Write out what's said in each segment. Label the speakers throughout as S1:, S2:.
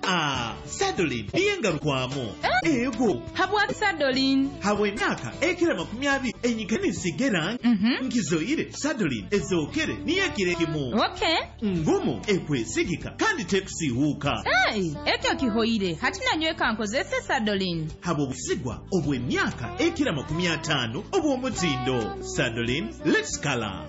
S1: Ah, Sadolin niyo engarukwamu. Ego.
S2: Habwaki Sadolin?
S1: Habw'emyaka ekira 20 enyika nisigera nkizoire Sadolin ezookere niyo ekiro ekimu. Ngumu, ekwesigika kandi tekusiihuuka.
S2: Hey, ekyo kihoire. Hati nanyweka nkozese Sadolin.
S1: Habw'obusigwa obw'emyaka ekira 50 obw'omutindo. Sadolin, let's color.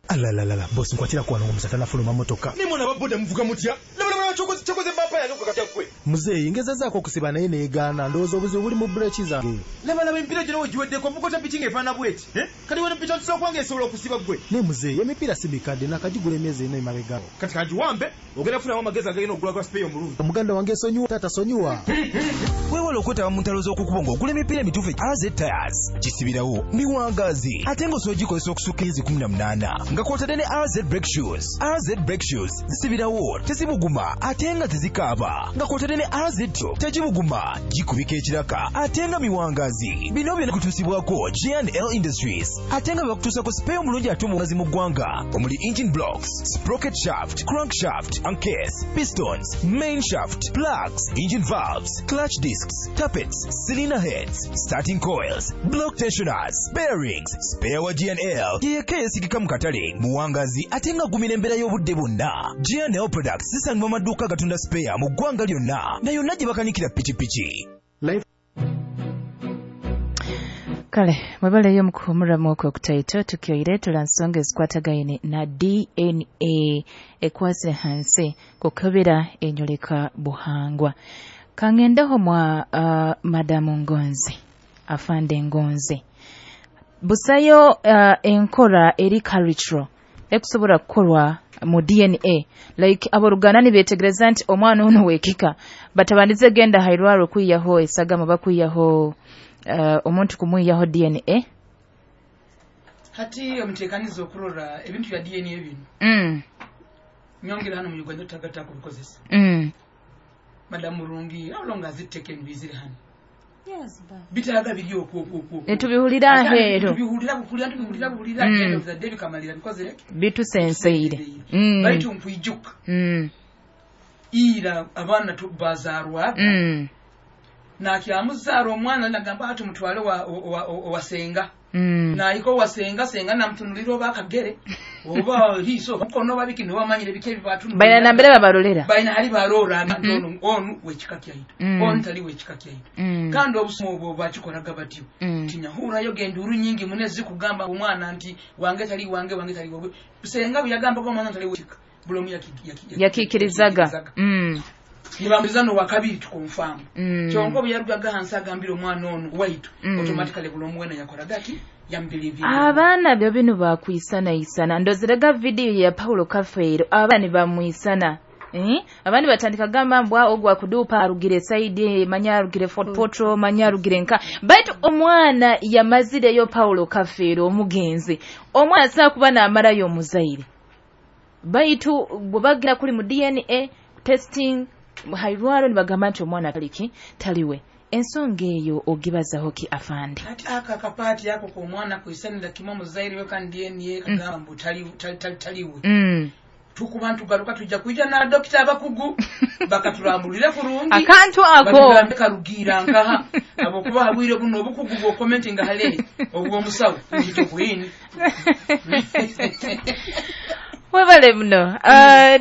S3: Alalalala, bosi, nkwatira kwano omusata nafuluma motoka.
S4: Nimwe nababoda muvuga mutya? Labalabala, kyokoze bampa yange okukakatya gwe.
S3: Muzeeyi, ngezezaako okusiba naye neegaana. Ndowooza obuzibu buli mu bureki zange.
S4: Labalaba emipiira gyona wegiweddeko, ovuga piki ng'efaanana bweti, eh? Kati wano piki ntusobola kubanga esobola okusiba gwe.
S3: Naye muzeeyi, emipiira si mikadde, nakagigula emyezi 4 emabega.
S4: Kati kangiwambe, ogenda kufunamu amagezi agagenda okugula gwa spare omulungi.
S3: Muganda wange, sonyiwa, taata, sonyiwa.
S5: Weewala okwetaba mu ntalo z'okukubo ng'ogula emipiira emituufu. AZ Tires gisibirawo, miwangaazi, ate ng'osobola ogikozesa okusukka emyezi 18, nga kw'otadde ne AZ Brake Shoes. AZ Brake Shoes zisibirawo, tezibuguma ate nga tezikaaba, nga kw'otadde ne AZ Tube, tegibuguma, gikubika ekiraka ate nga miwangaazi. Bino byonna kutuusibwako J&L Industries, ate nga bebakutuusako spare omulungi ate omuwangazi mu ggwanga, omuli engine blocks, sprocket shaft, crankshaft, case, pistons, main shaft, plugs, engine valves, clutch discs, tappets, cylinder heads, starting coils, block tensioners, bearings. Spare wa G&L yeyekka yeesigika mu katale, muwangazi ate nga agumira embeera y'obudde bwonna. G&L Products zisangibwa mu maduuka agatunda spare mu ggwanga lyonna na yonna gye bakanikira pikipiki.
S6: Kale mwebaleyo mukuhumuramu okwo okutaito. Tukyoire tula nsonga ezikwatagaine na DNA ekwasire hansi kukebera enyoleka buhangwa. Kangendeho mwa madamu Ngonzi, afande Ngonzi, busayo enkora eri cultural ekusobola kukorwa mu DNA, like aboluganda nibetegereza nti omwana ono wekika, batabandize genda hairwaro kwiyaho esagama, bakwiyaho omuntu kumwiyaho DNA?
S7: Hati omuteekaniza okurora ebintu bya DNA bino, nyongera hano mu Uganda tutagatta kubikozesa. Madamu Murungi, how long has it taken bizire hano?
S8: Yes, ba.
S7: Bitaaga biri okwo okwo okwo.
S6: Netubihulira aheeru.
S7: Tubihulira bukulira, tubihulira buhulira. End of the day bikamalira bikozere.
S6: Bitusenseire.
S7: Baitu nkwijuka ira abaana bazaarwa, nakyamuzaala omwana nagamba ati mutwale owasenga. Nayika owasenga, senga namutunulira oba akagere oba liiso oba mukono oba biki, nobamanyire biki ebibatunulira.
S6: Balina nambere babarolera.
S7: Balina hali barora nti ono onu wekika kyaitu, onu tali wekika kyaitu. Kandi obusomo obwo bakikoraga batyo. Tinyahurayo genda nyingi mune zikugamba omwana nti wange tali wange, wange tali wange. Senga bwe yagambaga omwana tali wekika, buli omu
S6: yakikirizaga.
S7: Nibambuliza no wakabiri tukonfamu. Kyonka bwe yarugaga hansi agambira omwana ono waitu, automatically buli omu wena yakoraga ki yamubelievira.
S6: Abaana byo bino bakwisanaisana. Ndozerega vidiyo ya Paulo Kafeero, abaana nibamwisana. Eh? Abandi batandika gamba mbwa ogwa kudupa arugire side, manya arugire Fort Portal, manya arugire nka, baitu omwana yamazireyo Paulo Kafeero omugenzi. Omwana asobola kuba n'amarayo omuzaire, baitu bwe bagenda kuli mu DNA testing hairwaro nibagamba nti omwana taliki taliwe. Ensonga eyo ogibazaho ki, afande?
S7: Ati aka akapaati ako k'omwana kwisanira kimwe omuzaire we kandi DNA kagamba mbu taliwe. Tukuba ntugaruka tujja kuija na dokita abakugu bakatulambulire kurungi.
S6: Akantu ako.
S7: Batugambe karugira nkaha abokuba habwire buno obukugu bw'okomentinga hale obw'omusawo nkito kwini.
S6: Webale muno.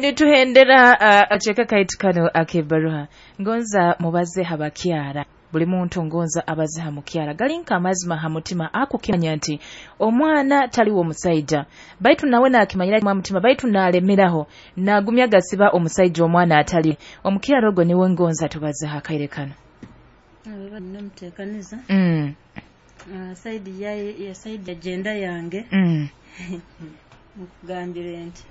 S6: Nituhendera aceka kaitu kano akebaruha. Ngonza mubaze habakyara, buli muntu ngonza abaze hamukyara galinka amazima hamutima akukimanya nti omwana taliwo omusaija, baitu nawe nakimanyira mwa mutima, baitu nalemeraho nagumya gasiba omusaija omwana atali omukyara ogwo. Niwe ngonza tubaze hakaire kano.
S8: Namuteekaniza. Ah, side ya side ya gender yange, nkugambire nti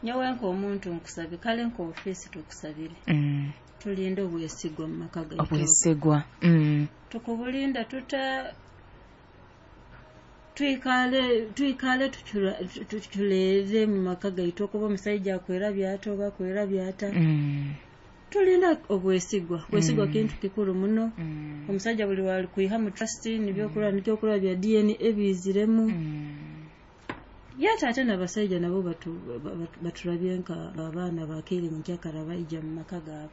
S8: nyowe nk'omuntu nkusabye, kale nk'ofiisi tukusabire, tulinde obwesigwa mu maka gaitu.
S6: Obwesigwa.
S8: Tukubulinda tuta? Twikale tuculere mu maka gaitu, okuba omusajja akwerabya ata oba akwerabya ata. Tulinda obwesigwa. Bwesigwa kintu kikuru muno. Omusajja buli wali kwiha mu trust, nibyokurora bya DNA ebiziremu. Yate ate n'abasajja nabo baturabye nka abaana bakeire nkyakara baija mu maka gaabwe.